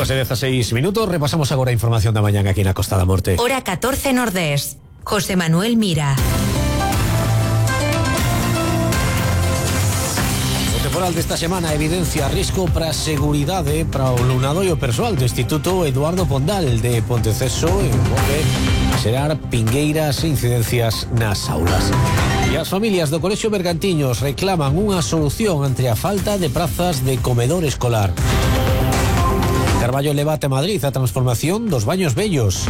2:16. Repasamos agora a información da mañán aquí na Costa da Morte. Hora 14 Nordés. José Manuel Mira. O temporal desta semana evidencia risco para a seguridade para o alumnado e o persoal do Instituto Eduardo Pondal de Ponteceso e volve a xerar pingueiras e incidencias nas aulas. E as familias do Colexio Bergantiños reclaman unha solución ante a falta de prazas de comedor escolar. Carballo levate a Madrid a transformación dos baños vellos.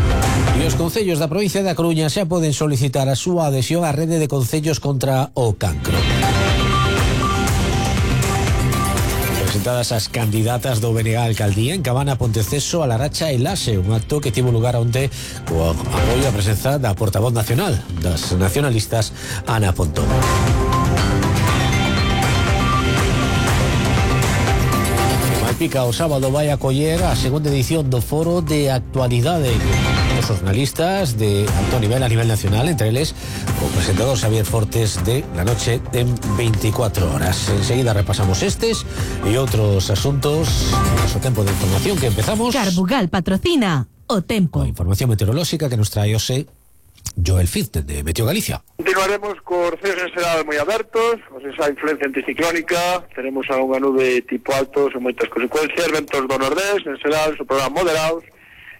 E os concellos da provincia da Coruña xa poden solicitar a súa adhesión á rede de concellos contra o cancro. Presentadas as candidatas do BNG a Alcaldía en Cabana, Ponteceso, A Laracha e Laxe, un acto que tivo lugar onte co apoio a presenza da portavoz nacional das nacionalistas, Ana Pontón. Malpica o sábado vai acoller a segunda edición do Foro de Actualidade dos xornalistas de alto nivel a nivel nacional, entre eles o presentador Xavier Fortes de La Noche en 24 horas. Enseguida repasamos estes e outros asuntos. O tempo de información que empezamos. Carbugal patrocina o tempo. A información meteorolóxica que nos trae hoxe Joel Fitz de Meteo Galicia. Continuaremos cos cieos en xeral moi abertos, esa influencia anticiclónica, teremos a unha nube tipo alto sen moitas consecuencias, ventos do nordés, en xeral, soprarán moderados,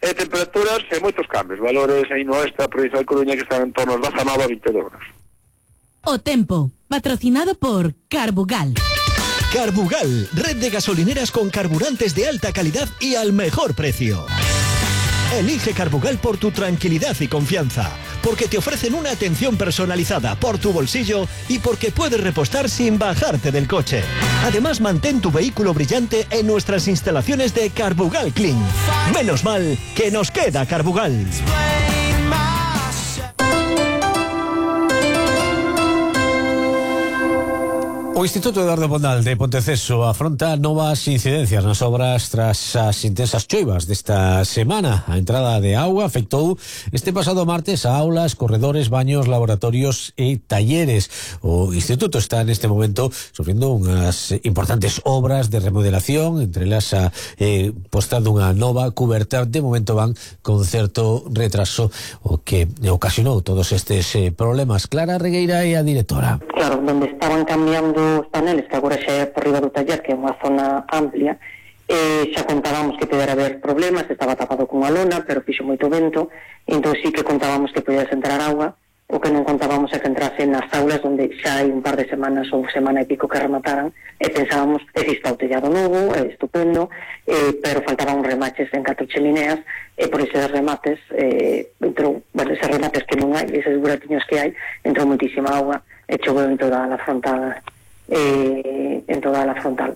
e temperaturas e moitos cambios, valores aí no oeste da provincia de Coruña que están en torno aos 19 a 22 graus. O tempo, patrocinado por Carbugal. Carbugal, red de gasolineras con carburantes de alta calidad y al mejor precio. Elige Carbugal por tu tranquilidad y confianza, porque te ofrecen una atención personalizada por tu bolsillo y porque puedes repostar sin bajarte del coche. Además, mantén tu vehículo brillante en nuestras instalaciones de Carbugal Clean. Menos mal que nos queda Carbugal. O Instituto Eduardo Pondal de Ponteceso afronta novas incidencias nas obras tras as intensas choivas desta semana. A entrada de auga afectou este pasado martes a aulas, corredores, baños, laboratorios e talleres. O Instituto está neste momento sofrendo unhas importantes obras de remodelación, entre elas a posta dunha nova cuberta. De momento van con certo retraso, o que ocasionou todos estes problemas. Clara Regueira é a directora. Claro, donde estaban cambiando os paneles, que agora xa é por riba do taller, que é unha zona amplia, xa contábamos que podera haber problemas, estaba tapado con unha lona, pero fixo moito vento, entón sí que contábamos que podía entrar agua. O que non contábamos é que entrase nas aulas onde xa hai un par de semanas ou semana e pico que remataran, e pensábamos que está o tellado novo, estupendo, pero faltaban remaches en 4 chemineas, e por eses remates entrou, bueno, eses remates que non hai, eses buratiños que hai, entrou moitísima agua e choveu en toda a frontal,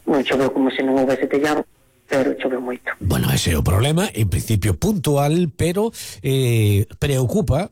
non choveu como se non houvese tellado, pero choveu moito. Bueno, ese é o problema, en principio puntual, pero preocupa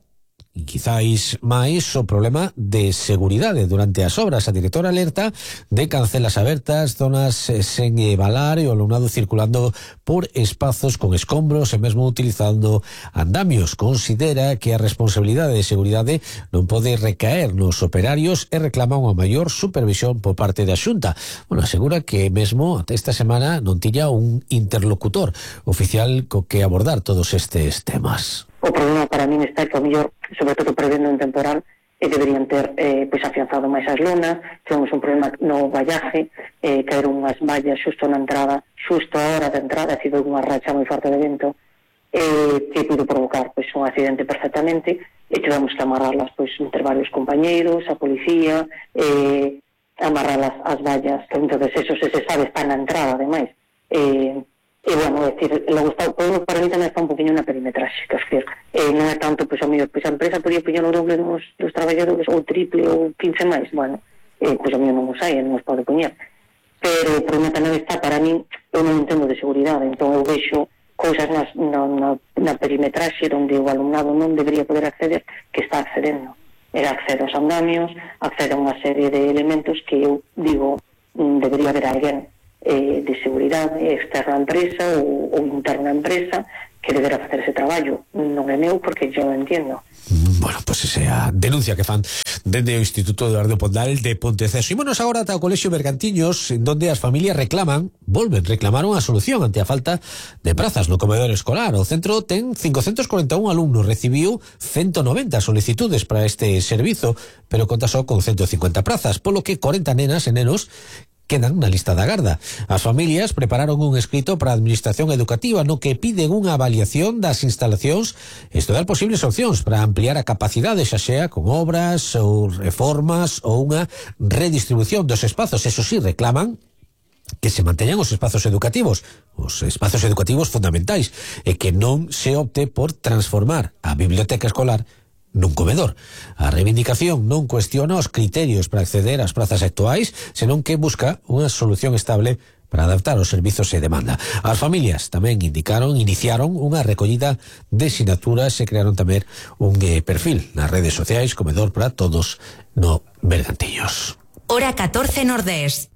e quizáis máis o problema de seguridade durante as obras. A directora alerta de cancelas abertas, zonas sen valar e o alumnado circulando por espazos con escombros e mesmo utilizando andamios. Considera que a responsabilidade de seguridade non pode recaer nos operarios e reclama unha maior supervisión por parte da Xunta. Bueno, asegura que mesmo até esta semana non tiña un interlocutor oficial co que abordar todos estes temas. O problema para min está que, ao mellor, sobre todo prevendo un temporal, deberían ter afianzado máis as lonas. Tivemos un problema no vallaje, caeron unhas vallas xusto na entrada, xusto a hora de entrada, ha sido unha racha moi forte de vento, que pudo provocar un accidente perfectamente, e tivemos que amarrarlas entre varios compañeiros, a policía, amarrarlas as vallas, que entonces eso se sabe está na entrada, ademais. E, bueno, é dicir, para mí tamén está un poquinho na perimetraxe, que decir, non é tanto, a mellor, a empresa podía poñer o doble dos traballadores, ou triple, ou 15 máis, bueno, a mellor non os hai, non os pode poñer, pero o problema tamén está, para mí, eu non entendo de seguridade, entón eu vexo cousas na perimetraxe onde o alumnado non debería poder acceder, que está accedendo, accede aos andamios, accede a unha serie de elementos que eu digo, debería haber alguén de seguridade externa á empresa ou interna á empresa que deberá facer ese traballo. Non é meu porque eu non entendo. Bueno, pues esa denuncia que fan dende o Instituto Eduardo Pondal de Ponteceso. Ímonos agora ata o Colexio Bergantiños, en donde as familias volven reclamar unha solución ante a falta de prazas no comedor escolar. O centro ten 541 alumnos, recibiu 190 solicitudes para este servizo, pero conta só con 150 prazas, polo que 40 nenas e nenos quedan na lista da garda. As familias prepararon un escrito para a Administración Educativa no que piden unha avaliación das instalacións e estudar posibles opcións para ampliar a capacidade, xa sea con obras ou reformas ou unha redistribución dos espazos. Eso sí, reclaman que se manteñan os espazos educativos fundamentais, e que non se opte por transformar a biblioteca escolar nun comedor. A reivindicación non cuestiona os criterios para acceder ás prazas actuais, senón que busca unha solución estable para adaptar os servizos e demanda. As familias tamén iniciaron unha recollida de sinaturas e crearon tamén un perfil nas redes sociais Comedor para Todos no Bergantiños. Hora 14 Nordés.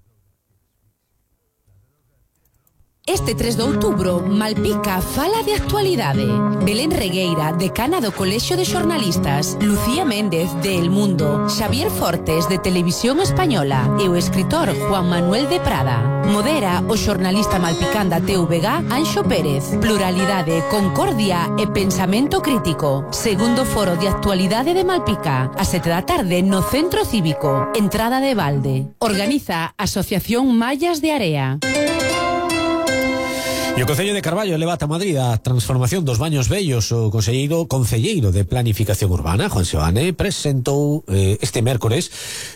Este 3 de outubro, Malpica fala de actualidade. Belén Regueira, decana do Colexio de Xornalistas, Lucía Méndez, de El Mundo, Xavier Fortes, de Televisión Española, e o escritor Juan Manuel de Prada. Modera o xornalista malpicán da TVG, Anxo Pérez. Pluralidade, concordia e pensamento crítico. Segundo foro de actualidade de Malpica, a 7 da tarde no Centro Cívico, entrada de balde. Organiza Asociación Mallas de Area. E o Concello de Carballo leva a Madrid a transformación dos baños vellos. O concelleiro de Planificación Urbana, Juan Seoane, presentou este mércores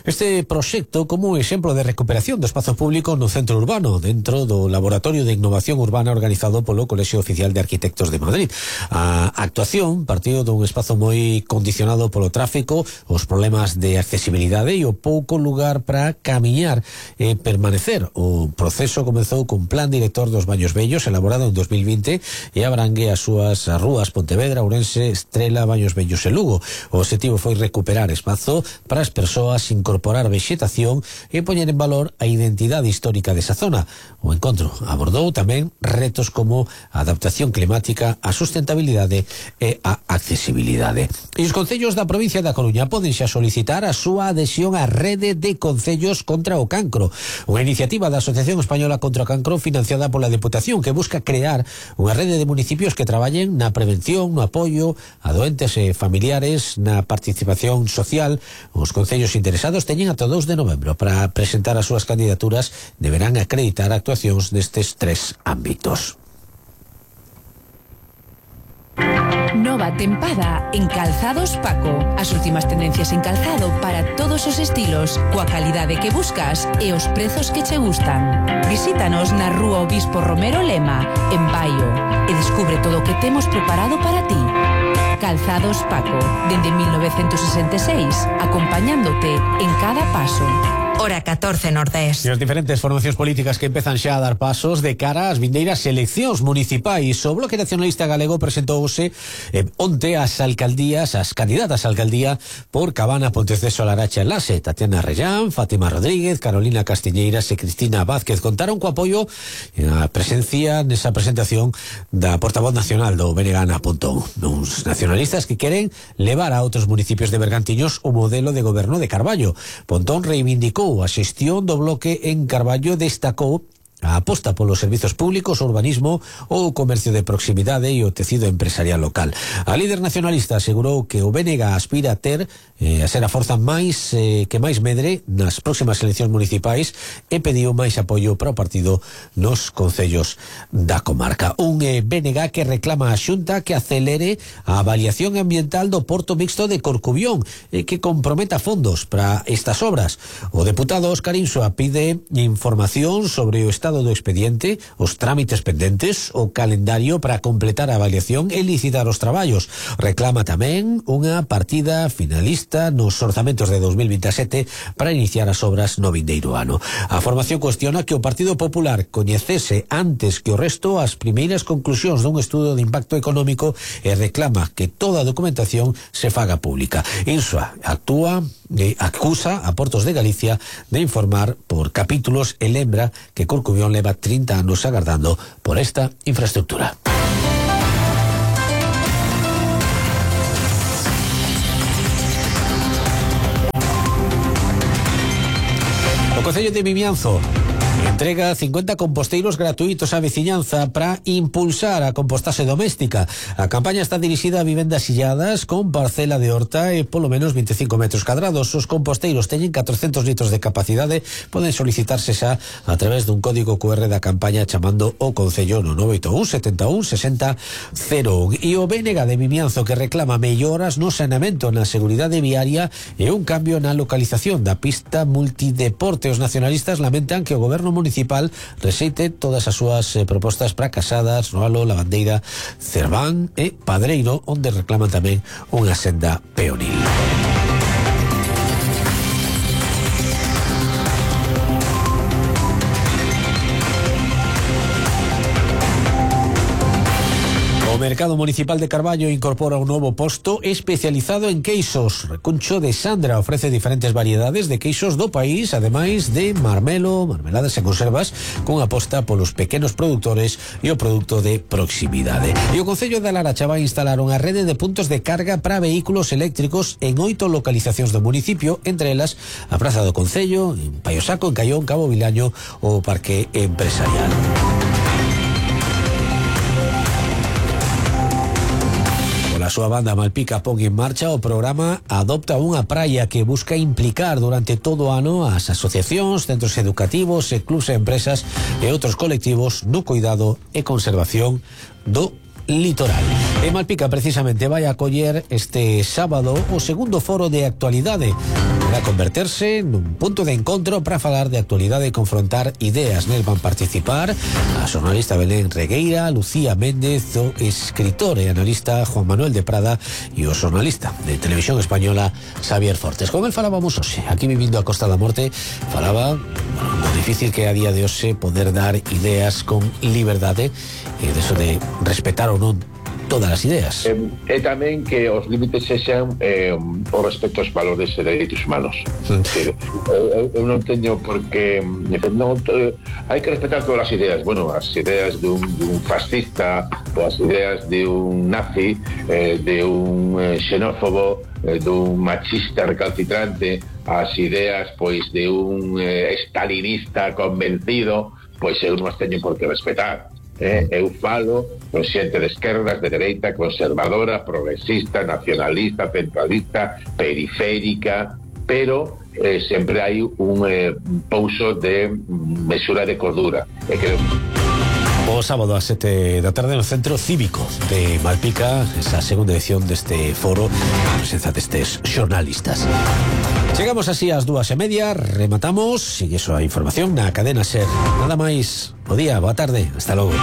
este proxecto como exemplo de recuperación do espazo público no centro urbano, dentro do Laboratorio de Innovación Urbana organizado polo Colexio Oficial de Arquitectos de Madrid. A actuación partido dun espazo moi condicionado polo tráfico, os problemas de accesibilidade e o pouco lugar para camiñar e permanecer. O proceso comezou cun plan director dos baños vellos elaborado en 2020 e abrangue as súas rúas Pontevedra, Ourense, Estrela, Baños Vellos e Lugo. O objetivo foi recuperar espazo para as persoas, incorporar vexetación e poñer en valor a identidade histórica desa zona. O encontro abordou tamén retos como a adaptación climática, a sustentabilidade e a accesibilidade. E os concellos da provincia da Coruña poden xa solicitar a súa adhesión á Rede de Concellos contra o Cancro, unha iniciativa da Asociación Española contra o Cancro financiada pola Deputación, que busca crear unha rede de municipios que traballen na prevención, no apoio a doentes e familiares, na participación social. Os concellos interesados teñen ata 2 de novembro para presentar as súas candidaturas. Deberán acreditar actuacións nestes 3 ámbitos. Nova tempada en Calzados Paco. As últimas tendencias en calzado para todos os estilos, coa calidade que buscas e os prezos que che gustan. Visítanos na Rúa Obispo Romero Lema, en Baio, e descubre todo o que temos preparado para ti. Calzados Paco, dende 1966, acompañándote en cada paso. Hora 14 Nordés. E as diferentes formacións políticas que empezan xa a dar pasos de cara ás vindeiras eleccións municipais. O Bloque Nacionalista Galego presentouse onte as candidatas a alcaldía por Cabana, Ponteceso, Laracha e Laxe. Tatiana Rellán, Fátima Rodríguez, Carolina Castiñeiras e Cristina Vázquez contaron co apoio e a presencia nesa presentación da portavoz nacional do BNG, Ana Pontón. Uns nacionalistas que queren levar a outros municipios de Bergantiños o modelo de goberno de Carballo. Pontón reivindicou a xestión do Bloque en Carballo, destacou a aposta polos servizos públicos, o urbanismo, o comercio de proximidade e o tecido empresarial local. A líder nacionalista asegurou que o BNG aspira a ser a forza que máis medre nas próximas eleccións municipais e pediu máis apoio para o partido nos concellos da comarca. Un BNG que reclama a Xunta que acelere a avaliación ambiental do Porto Mixto de Corcubión e que comprometa fondos para estas obras. O deputado Óscar Insua pide información sobre o estado do expediente, os trámites pendentes, o calendario para completar a avaliación e licitar os traballos. Reclama tamén unha partida finalista nos orzamentos de 2027 para iniciar as obras no vindeiro ano. A formación cuestiona que o Partido Popular coñecese antes que o resto as primeiras conclusións dun estudo de impacto económico e reclama que toda a documentación se faga pública. Insua acusa a Portos de Galicia de informar por capítulos e lembra que Corcubión leva 30 anos agardando por esta infraestructura. O Concello de Vimianzo entrega 50 composteiros gratuitos á veciñanza para impulsar a compostaxe doméstica. A campaña está dirixida a vivendas illadas con parcela de horta e polo menos 25 metros cadrados. Os composteiros teñen 400 litros de capacidade. Poden solicitarse xa a través dun código QR da campaña chamando o Concello no 981 71 60 01. E o BNG de Vimianzo, que reclama melloras no saneamento, na seguridade viaria e un cambio na localización da pista multideporte. Os nacionalistas lamentan que o goberno municipal rexeite todas as súas propostas para Casadas, Noalo, Lavandeira, Cerván e Padreiro, onde reclaman tamén unha senda peonil. O Mercado Municipal de Carballo incorpora un novo posto especializado en queixos. Recuncho de Sandra ofrece diferentes variedades de queixos do país, ademais de marmelo, marmeladas e conservas, con aposta polos pequenos produtores e o produto de proximidade. E o Concello de Laracha vai instalar unha rede de puntos de carga para vehículos eléctricos en 8 localizacións do municipio, entre elas a Praza do Concello, en Paiosaco, en Caión, Cabo Vilaño ou o Parque Empresarial. A súa banda Malpica pon en marcha o programa Adopta unha praia, que busca implicar durante todo o ano as asociacións, centros educativos e clubs e empresas e outros colectivos no cuidado e conservación do litoral. E Malpica precisamente vai acoller este sábado o segundo foro de actualidade para converterse nun punto de encontro para falar de actualidade e confrontar ideas. Nel van participar a xornalista Belén Regueira, Lucía Méndez, o escritor e analista Juan Manuel de Prada e o xornalista de Televisión Española Xavier Fortes. Con el falábamos hoxe, aquí vivindo a Costa da Morte, falaba lo difícil que é a día de hoxe poder dar ideas con liberdade e deso de respetar ou non todas as ideas. E tamén que os límites sexan o respecto aos valores e dereitos humanos. Eu non teño por que hai que respetar todas as ideas. Bueno, as ideas dun fascista, ou as ideas de un nazi, de un xenófobo, dun machista recalcitrante, as ideas pois de un stalinista convencido, pois eu non as teño por que respetar. Eu falo con xente de esquerdas, de dereita, conservadora, progresista, nacionalista, centralista, periférica, pero sempre hai un pouso de mesura de cordura. O sábado a 7 da tarde no Centro Cívico de Malpica, esa segunda edición deste foro, a presenza destes xornalistas. Chegamos así ás 2:30, rematamos, sigue a información na cadena SER. Nada máis, bo día, boa tarde, hasta logo.